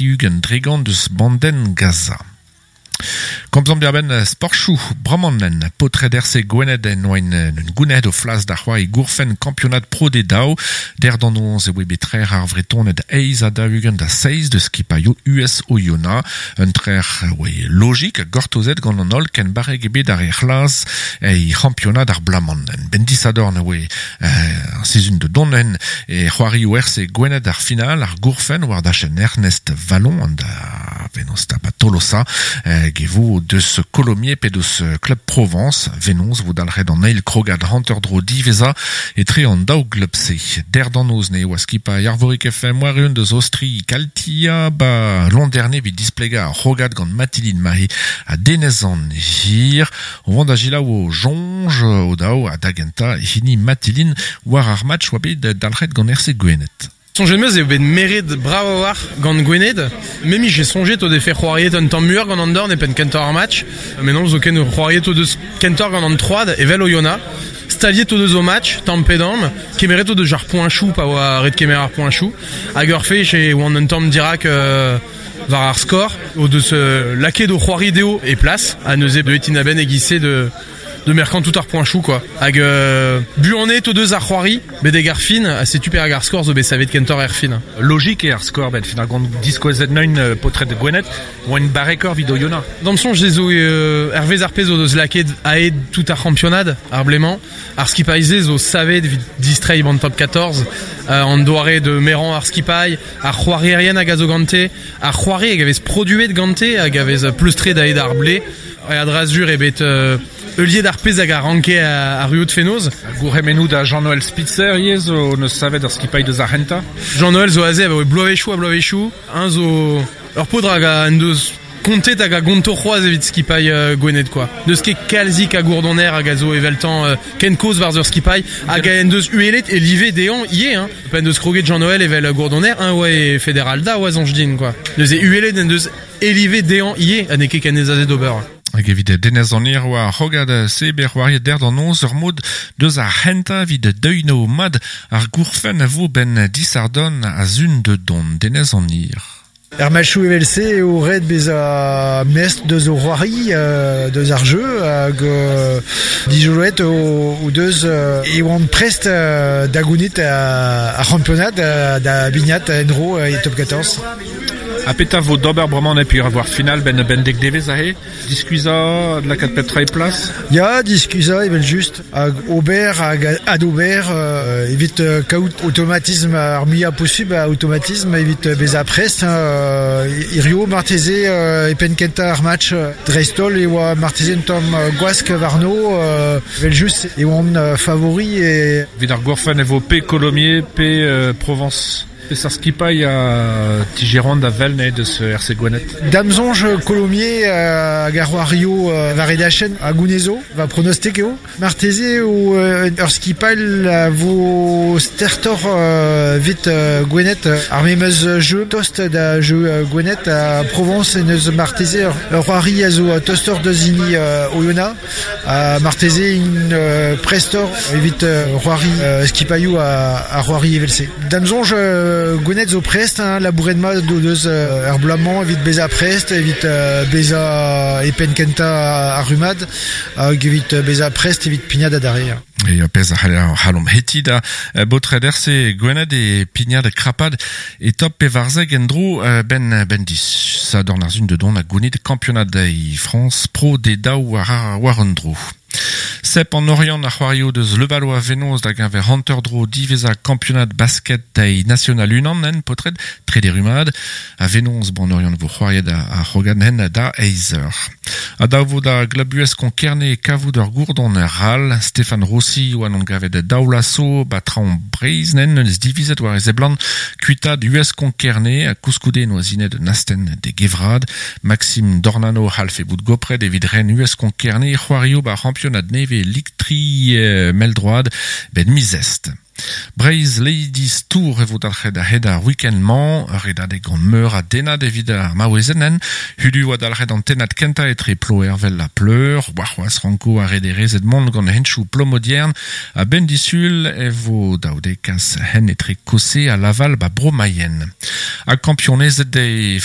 60% deus bandenn Gaza. Komzomp diàr-benn sporchoù bremañ paotred RC Gwened en oaint un gouned o flas da c'hoari gourfenn kampionad Pro D2. Der d'an noz e oe bet trec'h ar Vretoned 48-7 deus skipailhoù US Oyonnax. Un trec'h oe logik ha gortozet gant an holl ken barrek eo bet ar re c'hlas e c'hampionad ar bloaz-mañ. Benn disadorn e oe ar sizhun da dont en e c'hoarioù RC Gwened ar final ar gourfenn war dachenn Ernest Wallon an da venoz da ba Tolosa hag e vo deus Colomiers pe deus Club Provence venoz vo dalc'het an eil krogad hanter-dro diwezhañ etre an daou glub-se. Der d'an noz ne oa skipailh Arvorig FM war-eeun deus Aostri Kaltia ba Landerne evit displegañ ar c'hrogad gant Mathilde Mahe ha Denez an Hir. O vont da selaou o soñj o daou ha da gentañ hini Matilin war ar match oa bet dalc'het gant RC Gwened. Soñjet 'm eus eo bet meret brav a-walc'h gant Gwened. Me 'mije soñjet o defe c'hoariet un tamm muioc'h gant an dorn e penn kentañ ar match. Met non, zoken c'hoariet o deus kentoc'h gant an troad evel Oyonnax. Staliet o deus o match tamm pe damm. Kemeret o deus ar poeñchoù pa oa ret kemer ar poeñchoù. Hag ur fech e oant un tamm dirak war ar skor o deus lakaet o c'hoari dezho e plas ha neuze deuet int a-benn e-giz-se de de merkañ tout ar poeñchoù quoi. Hag buanet o deus ar c'hoari betek ar fin ha setu perak ar skor zo bet savet kentoc'h er fin. Logik eo ar skor benn fin ar gont diskouezet neuint paotred Gwened oant barrekoc'h evit Oyonnax. D'am soñj ez zo hervez ar pezh o deus lakaet a-hed tout ar c'hampionad ar blez-mañ. Ar skipailh-se zo savet evit distreiñ ban top 14 an doare de merañ ar skipailh, ar c'hoarierien hag a zo gante, ar c'hoari hag a vez produet gante hag a vez pleustret a-hed ar blez. A-dra-sur eo bet heuliet ar pezh hag a ranke arruout fenoz. Gourc'hemennoù da Jean-Noël Spitzer ivez zo neus savet ar skipailh deus ar c'hentañ. Jean-Noël zo aze abaoe bloavezhioù ha bloavezhioù. Eñ zo ur paotr hag en deus kontet hag a gonto c'hoazh evit skipailh Gwened quoi. N'eus ket kalzik a gourdoner hag a zo eveltañ ken kozh war ur skipailh hag en deus uhelet e live dezhañ ivez hein. Pa en deus kroget Jean-Noël evel gourdoner, eñ oa e Federal da oa soñj din quoi. Neuze uhelet en deus e live dezhañ ivez ha n'eo ket ken aes d'ober. Hag evit Denez an Hir oa ar c'hrogad se bet c'hoariet der d'an noz ur mod deus ar c'hentañ evit deuino mat ar gourfenn a vo 'benn disadorn a sun da dont. Denez an Hir. Er matchoù evel-se eo ret bezañ mestr deus o c'hoari, deus ar jeu hag dijoloet o deus e oant prest da gounit ar c'hampionad da bignat en-dro e top 14. Ha petra vo d'ober bremañ e peogwir ar final 'benn 'benn dek devezh aze? Diskuizhañ, lakaat pep tra e plas? Ya, diskuizhañ evel-just. Hag ober hag adober evit kaout automatism ar muiañ posubl a automatism evit bezañ prest. Hirio marteze e penn kentañ ar match dreist-holl e oa marteze un tamm gwask warno. Evel-just e oant favori. E... Evit ar gourfenn e vo pe Colomiers pe Provence. Peseurt skipailh a tigeran da wel ne deus RC Gwened? Da'm soñj Colomiers hag ar c'hoario war e dachenn a gounezo, va pronostik eo. Marteze eo ur skipailh a vo stertoc'h evit Gwened. Ar memes jeu tost da jeu Gwened ha Provence en deus marteze ur c'hoari a zo tostoc'h deus hini Oyonnax. Ha marteze int prestoc'h evit c'hoari skipailhoù a c'hoari evel-se. Da'm soñj Gwened zo prest, hein, labouret mat o deus er bloaz-mañ evit bezañ prest, evit bezañ e penn kentañ ar rummad hag evit bezañ prest evit pignat adarre. E pezh a c'hallomp hetiñ da baotred RC Gwened e pignat krapad e top 14 en-dro 'benn 'benn disadorn ar sun da dont ha gounit kampionad e Frañs Pro D2 war un dro. Sep an Oriant a c'hoario deus Levallois fenoz da geñver hanter-dro diwezhañ kampionad basket e National unan en paotred trede rummad. A fenoz ban Oriant vo c'hoariet ar c'hrogad hen da eizh eur. Ha dav vo da glub US Konkerne kavout ur gourdon ral. Stéphane Rossi oa n'on gavet daou laso ba traoñ Breizh nen neus divizet war e seblant kuitaat US Konkerne ha koulskoude noa sinet un astenn d'e gevrad. Maxime Dornano c'hallfe bout gopret evit ren US Konkerne c'hoario ba c'hampionad nevez Ligue 3 mell-droad 'benn miz Est. Breizh Ladies Tour e vo dalc'het a-hed ar week-end-mañ, ur redadeg gant meur a dennad evit ar maouezenn. Hudu oa dalc'het an tennad kentañ etre Ploervel ha Pleur. Warc'hoazh ranko ar rederezed mont gant henchoù Plomodiern. A-benn disul e vo dav dezhe kas hent etre Cossé ha Laval ba Bro-Mayenne. Ha kampionezed e.